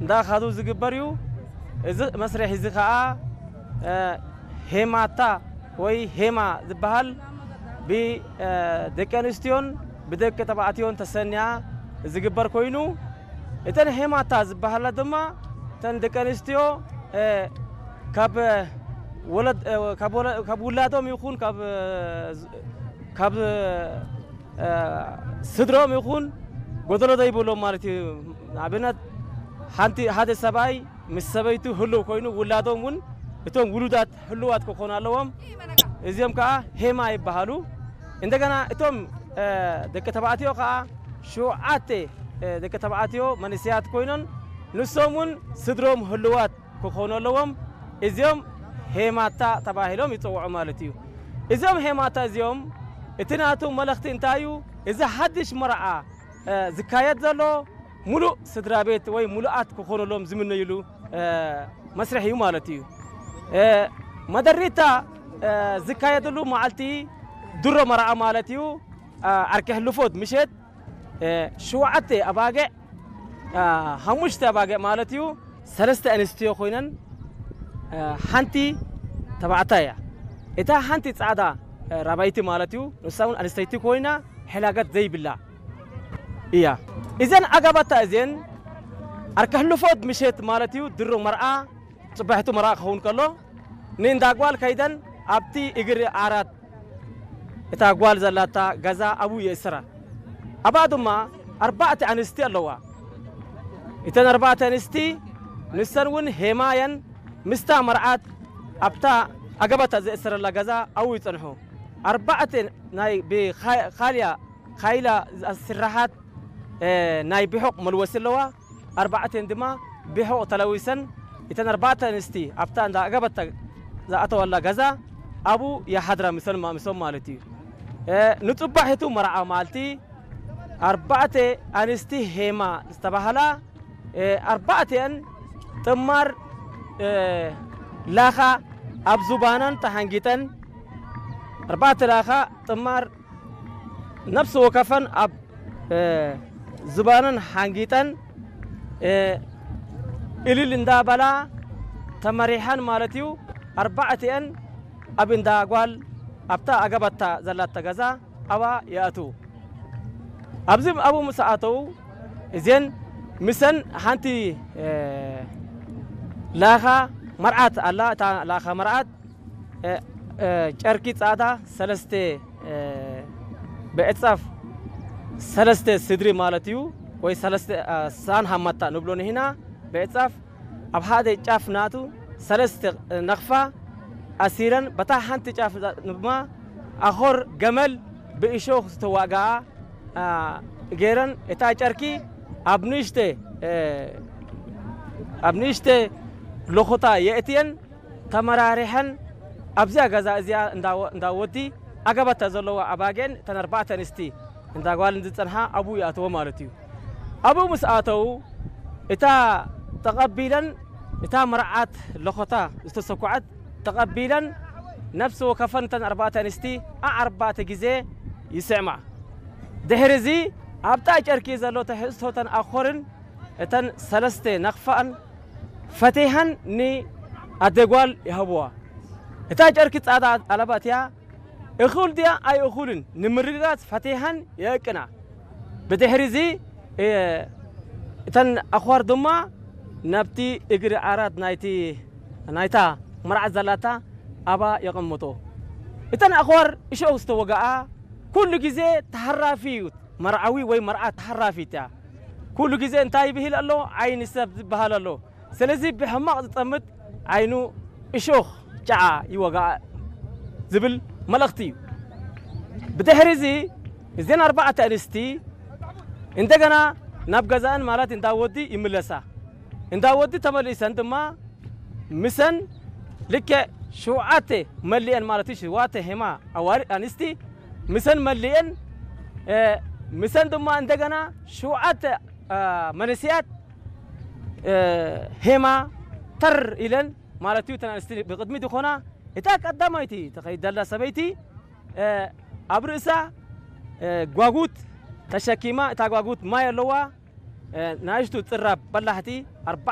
እንዳኻዱ ዝግበር እዩ። እዚ መስርሕ እዚ ኸዓ እ፣ ሄማታ ወይ ሄማ ዝበሃል ብደቂ ኣንስትዮን ብደቂ ተባዕትዮን ተሰንያ ዝግበር ኮይኑ፣ እተን ሄማታ ዝበሃላ ድማ እተን ደቂ ኣንስትዮ እ፣ ካብ ወለድ እ፣ ካብ ወለ- ካብ ውላዶም ይኹን ካብ እ፣ ካብ እ፣ ስድሮም ይኹን ጎደሎ ዘይብሎም ማለት እዩ። ንኣብነት ሓንቲ ሓደ ሰብኣይ ምስ ሰበይቱ ህልው ኮይኑ ውላዶም እውን እቶም ውሉዳት ህልዋት ክኾኑ ኣለዎም። እዚኦም ከዓ ሄማ ይበሃሉ። እንደገና እቶም እ፣ ደቂ ተባዕትዮ ከዓ ሸውዓተ እ፣ ደቂ ተባዕትዮ መንእሰያት ኮይኖም ንሶም እውን ስድሮም ህልዋት ክኾኑ ኣለዎም። እዚኦም ሄማታ ተባሂሎም ይፅውዑ ማለት እዩ። እዚኦም ሄማታ እዚኦም እቲ ናቱ መልእኽቲ እንታይ እዩ? እዚ ሓድሽ መርዓ እ፣ ዝካየድ ዘሎ ሙሉእ ስድራ ቤት ወይ ሙሉኣት ክኾነሎም ዝምነይሉ እ፣ መስርሕ እዩ ማለት እዩ። እ፣ መደሪታ እ፣ ዝካየደሉ መዓልቲ ድሮ መርዓ ማለት እዩ። እ፣ ዓርኪ ሕልፎት ምሸት እ፣ ሸውዓተ ኣባግዕ እ፣ ሓሙሽተ ኣባግዕ ማለት እዩ። ሰለስተ ኣንስትዮ ኮይነን እ፣ ሓንቲ ተባዕታይ እያ። እታ ሓንቲ ጻዕዳ እ፣ ራባይቲ ማለት እዩ። ንሳ እውን ኣንስተይቲ ኮይና ሕላገት ዘይብላ እያ። እዘን ኣጋባታ እዘን ኣርከሕልፎት ምሸት ማለት እዩ ድሮ መርዓ ጽባሕቱ መርዓ ክኸውን ከሎ ንእንዳ ጓል ከይደን ኣብቲ እግሪ ዓራት እታ ጓል ዘላታ ገዛ ኣብኡ የእስራ። ኣብኣ ድማ ኣርባዕተ ኣንስቲ ኣለዋ። እተን ኣርባዕተ ኣንስቲ ንሰን እውን ሄማ እየን። ምስታ መርዓት ኣብታ ኣገባታ ዘእሰረላ ገዛ ኣብኡ ይጸንሑ። ኣርባዕተ ናይ ብኻልያ ካይላ ዝስራሓት እ፣ ናይ ብሑቕ መልወሲ ኣለዋ። ኣርባዕተን ድማ ብሑቕ ተለዊሰን እተን ኣርባዕተ ኣንስቲ ኣብታ እንዳ ኣገበታ ዝኣተዋላ ገዛ ኣብኡ ይሓድራ ምሰን ማ- ምሶም ማለት እዩ። እ፣ ንጽባሒቱ መርዓ መዓልቲ ኣርባዕተ ኣንስቲ ሄማ ዝተባህላ እ፣ ኣርባዕተን ጥማር እ፣ ላኻ ኣብ ዙባነን ተሓንጊጠን ኣርባዕተ ላኻ ጥማር ነፍሲ ወከፈን ኣብ እ፣ ዝባነን ሓንጊጠን እ፣ እልል እንዳበላ ተመሪሐን ማለት እዩ። ኣርባዕቲአን ኣብ እንዳ ጓል ኣብታ ኣገባታ ዘላታ ገዛ ኣብኣ ይኣትዉ። ኣብዚ ኣብኡ ምስ ኣተዉ እዜን ምሰን ሓንቲ እ፣ ላኻ መርዓት ኣላ። እታ ላኻ መርዓት እ፣ እ፣ ጨርቂ ጻዕዳ ሰለስተ እ፣ ብዕጻፍ ሰለስተ ስድሪ ማለት እዩ ወይ ሰለስተ እ፣ ሳን ሃማታ ንብሎ ንሂና ብዕጻፍ ኣብ ሓደ ጫፍ ናቱ ሰለስተ ነኽፋ ኣሲረን በታ ሓንቲ ጫፍ ድማ ኣኾር ገመል ብእሾኽ ዝተዋግኣ አ፣ ገይረን እታ ጨርቂ ኣብ ንእሽተ እ፣ ኣብ ንእሽተ ሎኾታ የእትየን ተመራሪሐን ኣብዚኣ ገዛ እዚኣ እንዳ ወ- እንዳ ወዲ ኣገባታ ዘለዋ ኣባጊዕን እተን ኣርባዕተ ኣንስቲ እንዳ ጓልን ዝጸንሓ ኣብኡ ይኣተዎ ማለት እዩ። ኣብኡ ምስ ኣተዉ እታ ተቐቢለን እታ መርዓት ለኾታ ዝተሰኩዐት ተቐቢለን ነፍሲ ወከፈን እተን ኣርባዕተ ኣንስቲ ኣርባዕተ ግዜ ይስዕማ። ድሕሪ እዚ ኣብታ ጨርቂ ዘሎ ትሕዝቶተን ኣኾርን እተን ሰለስተ ነኽፋን ፈቲሐን ንኣደ ጓል ይሃብዋ። እታ ጨርቂ ጻዕዳ ኣለባትያ እኹል ድያ ኣይእኹልን ንምርግጋጽ ፈቲሐን የእቅና። ብድሕሪ እዚ እ፣ እተን ኣኽዋር ድማ ናብቲ እግሪ ዓራት ናይቲ ናይታ መርዓት ዘላታ ኣባ የቐምጦ። እተን ኣኽዋር እሾኽ ዝተወግኣ ኩሉ ግዜ ተሃራፊ እዩ። መርዓዊ ወይ መርዓት ተሃራፊት እያ። ኩሉ ግዜ እንታይ ይብሂል ኣሎ? ዓይኒ ሰብ ዝበሃል ኣሎ። ስለዚ ብሕማቕ ዝጠምት ዓይኑ እሾኽ ጨዓ ይወግኣ ዝብል መልእኽቲ እዩ። ብድሕሪ እዚ እዘን ኣርባዕተ ኣንስቲ እንደገና ናብ ገዛእን ማለት እንዳ ወዲ ይምለሳ። እንዳ ወዲ ተመሊሰን ድማ ምሰን ልክዕ ሸውዓተ መሊአን ማለት እዩ። ሸውዓተ ሄማ ኣዋልድ ኣንስቲ ምሰን መሊአን እ፣ ምሰን ድማ እንደገና ሸውዓተ እ፣ መንእሰያት እ፣ ሄማ ተር ኢለን ማለት እዩ። እተን ኣንስቲ ብቕድሚት ዝኾና እታ ቀዳማይቲ ተኸይድ ዘላ ሰበይቲ እ፣ ኣብ ርእሳ እ፣ ጓጉት ተሸኪማ እታ ጓጉት ማይ ኣለዋ እ፣ ናይሽቱ ጽራብ በላሕቲ ኣርባ